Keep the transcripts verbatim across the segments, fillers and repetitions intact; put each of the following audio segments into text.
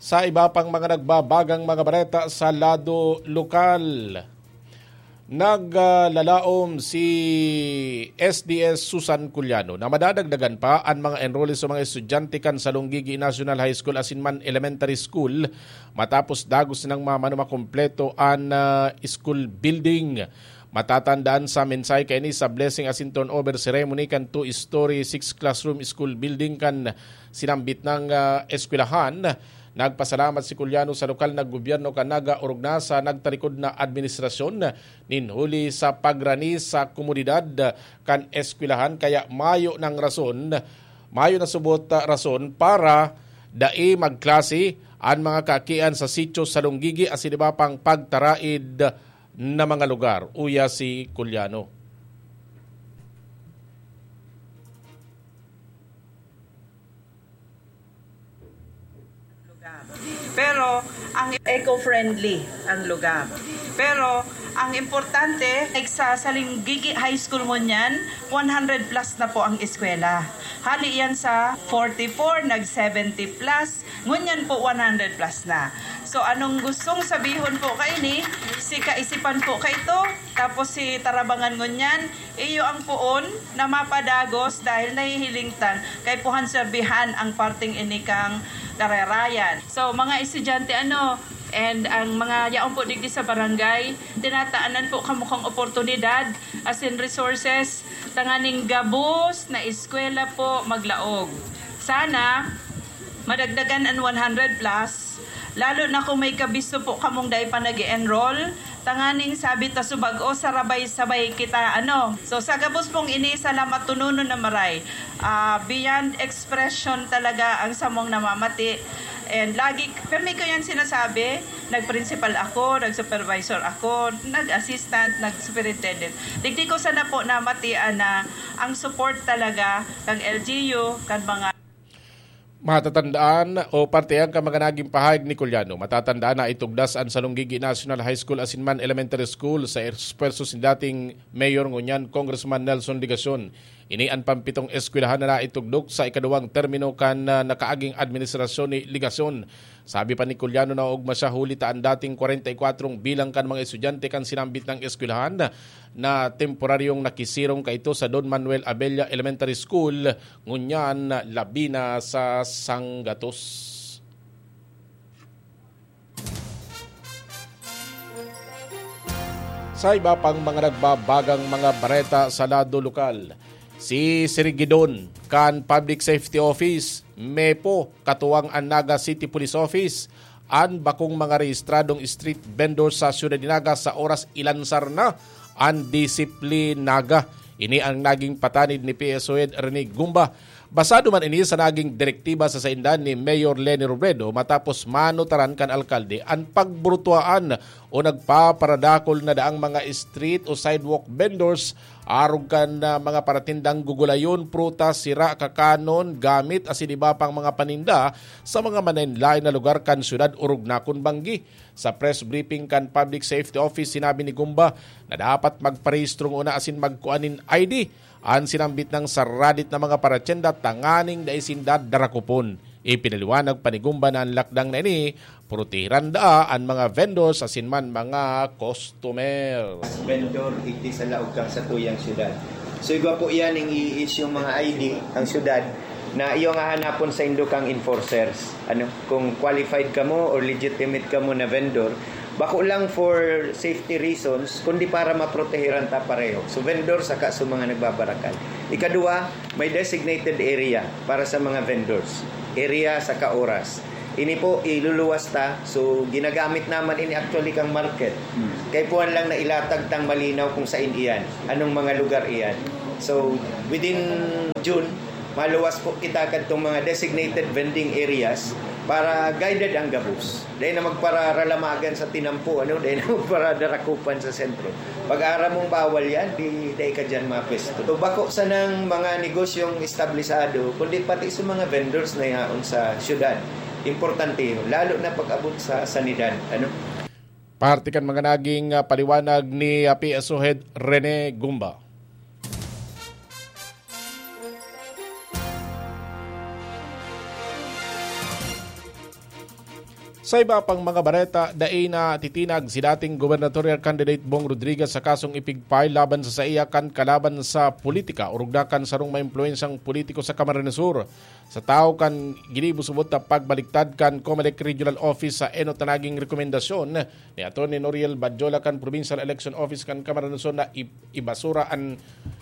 Sa iba pang mga nagbabagang mga bareta sa lado lokal, naglalaom si S D S Susan Culiano na madadagdagan pa an mga enrollees o mga estudyante kan Salonggigi National High School asin man Elementary School matapos dagos nang mamano makumpleto an ah, school building. Matatandaan sa mensahe kaini sa blessing asin turnover ceremony kan two-story, six-classroom school building kan sinambit nang ah, eskwelahan. Nagpasalamat si Culiano sa lokal na gobyerno kan Naga orog na sa nagtarikod na administrasyon nin huli sa pagrani sa komodidad kan eskwelahan, kaya mayo nang rason, mayo na subot ah, rason para dai magklase an mga kaakian sa sitio sa Lunggigi asin iba pang pagtaraid na mga lugar, uya si Culiano. Pero ang eco-friendly ang lugar. Pero ang importante, like sa Salinggigi High School ngunyan, one hundred plus na po ang eskwela. Hali yan sa forty-four, nag seventy plus, ngunyan po one hundred plus na. So anong gustong sabihon po kaini? Si Kaisipan po kaito, tapos si Tarabangan ngunyan, iyo ang poon na mapadagos dahil nahihiling tan kaipuhan serbihan ang parting inikang karerayan. So, mga estudyante, ano, and ang mga yaon po digdi sa barangay, tinataanan po kamo kang oportunidad, asin resources, tanganing gabos na eskwela po maglaog. Sana, madagdagan an one hundred plus, lalo na kung may kabisto po kamong dai pa nag enroll tanganing sabi ta subag-o, sarabay-sabay kita, ano. So, sa gabos pong ini, salamat tununon na maray. Ah, beyond expression talaga ang samong namamati. And lagi, permi ko yan sinasabi, nag-principal ako, nag-supervisor ako, nag-assistant, nag-superintendent. Digdi ko sana po namatian na ang support talaga kang L G U, kan mga Matatandaan o parte ang mga naging pahayag ni Culiano. Matatandaan na itugdas an Salonggigi National High School asin man Elementary School sa esfuerso sin dating Mayor ngunyan Congressman Nelson Legacion. Ini an pampitong eskwelahan na naitugdok sa ikaduwang termino kan ah, nakaaging administrasyon ni Legacion. Sabi pa ni Culiano na ogma siya huli ta an dating kwarenta y kwatro bilang kan mga estudyante kan sinambit nang eskwelahan na temporaryong nakisirong kaito sa Don Manuel Abella Elementary School, ngunyan labi na sa sanggatos. Sa iba pang mga nagbabagang mga bareta sa lado lokal, si Sirigidon kan Public Safety Office, mepo, katuwang an Naga City Police Office, an bakong mga rehistradong street vendor sa siyudad ni Naga sa oras ilansar na an Disiplinaga. Ini ang naging patanid ni P S O Head Rene Gumba. Basado man ini sa naging direktiba sa saindan ni Mayor Leni Robredo matapos manutaran kan alkalde an pagburutuaan o nagpaparadakol na daang mga street o sidewalk vendors arog kan ah, mga paratindang gugulayon, prutas, sira, kakanon, gamit asin iba pang mga paninda sa mga manlaen-laen na lugar kan syudad orog na kun banggi. Sa press briefing kan Public Safety Office, sinabi ni Gumba na dapat magparehistro ngona asin magkua nin I D an sinambit nang saradit na mga paratyenda tanganing dai sinda darakupon. Ipinaliwanag pa ni Gumba na an lakdang na ini, protehiran daa an mga vendors asin man mga customer. Vendor, igdi sa laog kang satuyang syudad. So, igwa po yan ang i-issue mga I D ang syudad na iyo nga hanapon sa indo kang enforcers. Ano, kung qualified kamo or legitimate kamo na vendor, bako lang for safety reasons, kundi para maprotehiran ta pareho. So, vendor saka sa mga nagbabarakal. Ikadua, may designated area para sa mga vendors. Area saka oras. Ini po, iluluwas ta. So, ginagamit naman ini actually kang market. Kaipuhan lang na ilatag tang malinaw kung sain iyan, anong mga lugar iyan. So, within June, maluwas po kita kadtong mga designated vending areas para guided ang gabos. Dahil na magpararalamagan sa tinampo, ano? Dahil na magparadarakupan sa sentro. Pag aram mong bawal yan, di dahil ka dyan mapesto. So, bako sanang mga negosyong establisado, kundi pati sa mga vendors na yaon sa syudad. Importante yun, lalo na pag-abot sa sanidad. Ano? Parte kan mga naging ah, paliwanag ni ah, P S O Head Rene Gumba. Sa iba pang mga bareta, dai na titinag si dating gubernatorial candidate Bong Rodriguez sa kasong ipig-file laban sa saiya kan kalaban sa politika, orog na kan sarong maimpluwensyang politiko sa Camarines Sur. Sa tawo kan ginibo subot na pagbaliktad kan Comelec Regional Office sa enot na naging rekomendasyon ni Attorney Noriel Badjola kan Provincial Election Office kan Camarines Sur na i-, ibasura an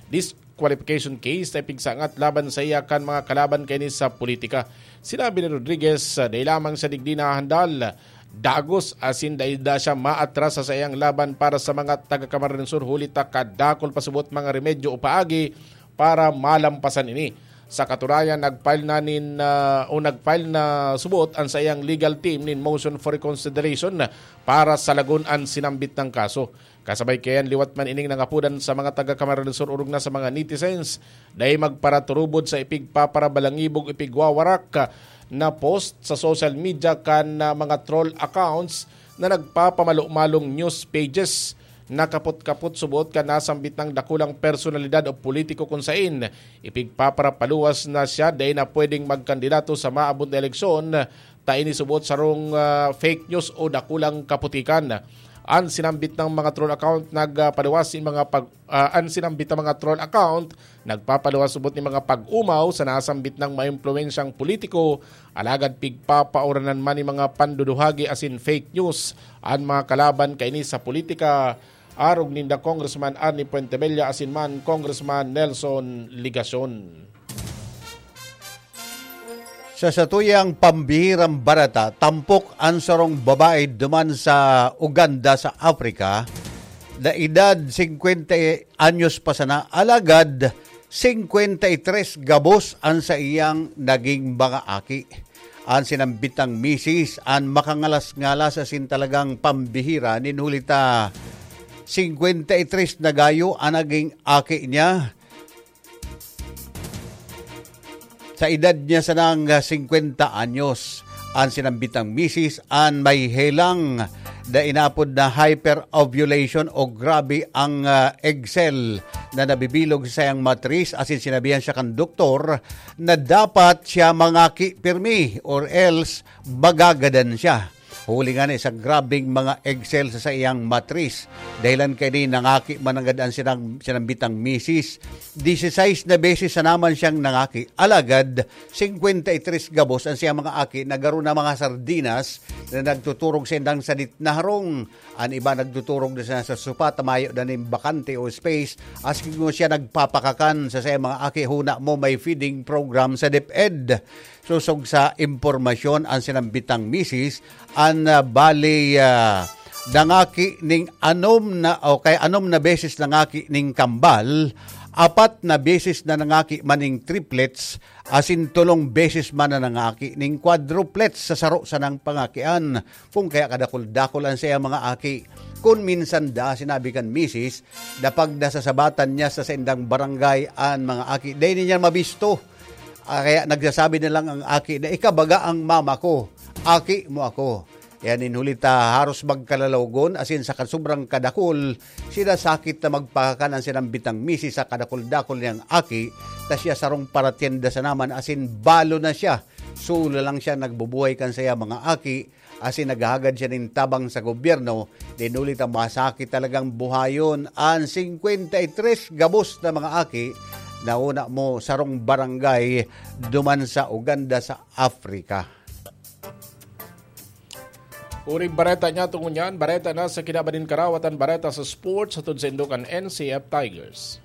disqualification case na ipigsangat laban sa iya kan mga kalaban kaini sa politika. Sinabi ni Rodriguez, ah, dai lamang siya digdi nahandal, dagos asin dai da siya maatras sa saiyang laban para sa mga taga Camarines Sur, huli ta kadakol pa subot mga remedyo o paagi para malampasan ini. Sa katunayan, nag-file na nin, ah, o nag-file na subot an saiyang legal team nin motion for reconsideration para salagon an sinambit na kaso. Kasabay kaiyan, liwat man ining nangapodan sa mga taga Camarines Sur orog na sa mga netizens, dai magparaturubod sa ipigpaparabalangibog, ipigwawarak na post sa social media kan, ah, mga troll accounts na nagpapamalo-malong news pages. Nakapot-kapot subot kan nasambit na dakulang personalidad o politiko kun sain ipigpaparapaluwas na siya dai na pwedeng magkandidato sa maabot na eleksyon, ta ini subot sarong, ah, fake news o dakulang kaputikan. An sinambit na mga troll account nagpaluwas nin mga pag-, ah, an sinambit na mga troll account nagpapaluwas subot nin mga pag-umaw sa nasambit na maimpluwensyang politiko, alagad pigpapauranan man nin mga panduduhagi asin fake news an mga kalaban kaini sa politika, arog ninda Congressman Arnie Fuentebella asin man Congressman Nelson Legacion. Sa satuyang pambihirang bareta, tampok an sarong babae duman sa Uganda, sa Africa, na edad singkwenta anyos pa sana, alagad singkwenta y tres gabos an saiyang naging mga aki. An sinambitang misis an makangalas-ngalas asin talagang pambihira nin huli ta singkwenta y tres na gayo an naging aki niya. Sa edad niya sanang singkwenta anyos, an sinambitang misis an may helang na inapod na hyperovulation o grabe ang, ah, egg cell na nabibilog sa saiyang matris, asin sinabihan siya kan doktor na dapat siya mangaki pirmi or else magagadan siya. Huli ngani sa grabeng mga egg cell sa saiyang matris. Dahilan kaini, nangaki mananggad an sinang-, sinambitang misis. Dieciséis na beses na naman siyang nangaki. Alagad, singkwenta y tres gabos an siyang mga aki na garo na mga sardinas na nagtuturog sa indang sadit na harong. An iba nagtuturog na sa, sa sopa, ta mayo na nin bakante o space. Asin siya nagpapakakan sa saiyang mga aki, huna mo may feeding program sa DepEd. Sosog sa impormasyon, an sinambitang misis, an, ah, bali, ah, nangaki ning anom na, o kay anom na beses nangaki ning kambal, apat na beses na nangaki man ning triplets, asin tolong beses man na nangaki ning quadruplets sa saro sanang pangakian. Kun kaya kadakul-dakul an saiyang mga aki. Kun minsan da, sinabi kan misis, dapag nasasabatan niya sa saindang barangay an mga aki, dai niya mabisto. Ah, kaya nagsasabi na lang ang aki na, "Ika baga ang mama ko, aki mo ako." Kaya nin huli ta haros magkalalawagon, asin sa kasobrang kadakul, sinasakit na magpakakan an sinambitang misis sa kadakul-dakul niyang aki, ta siya sarong paratyenda sana man, asin balo na siya. Solo lang siya nagbubuhay kan saya mga aki, asin naghahagad siya nin tabang sa gobyerno, nin huli ta masakit talagang buhayon an singkwenta y tres gabos na mga aki na una mo sarong barangay duman sa Uganda, sa Africa. Uring bareta niya tungo niyan, bareta na sa kinaban nin karawatan, bareta sa sports, hatod sa indo kan N C F Tigers.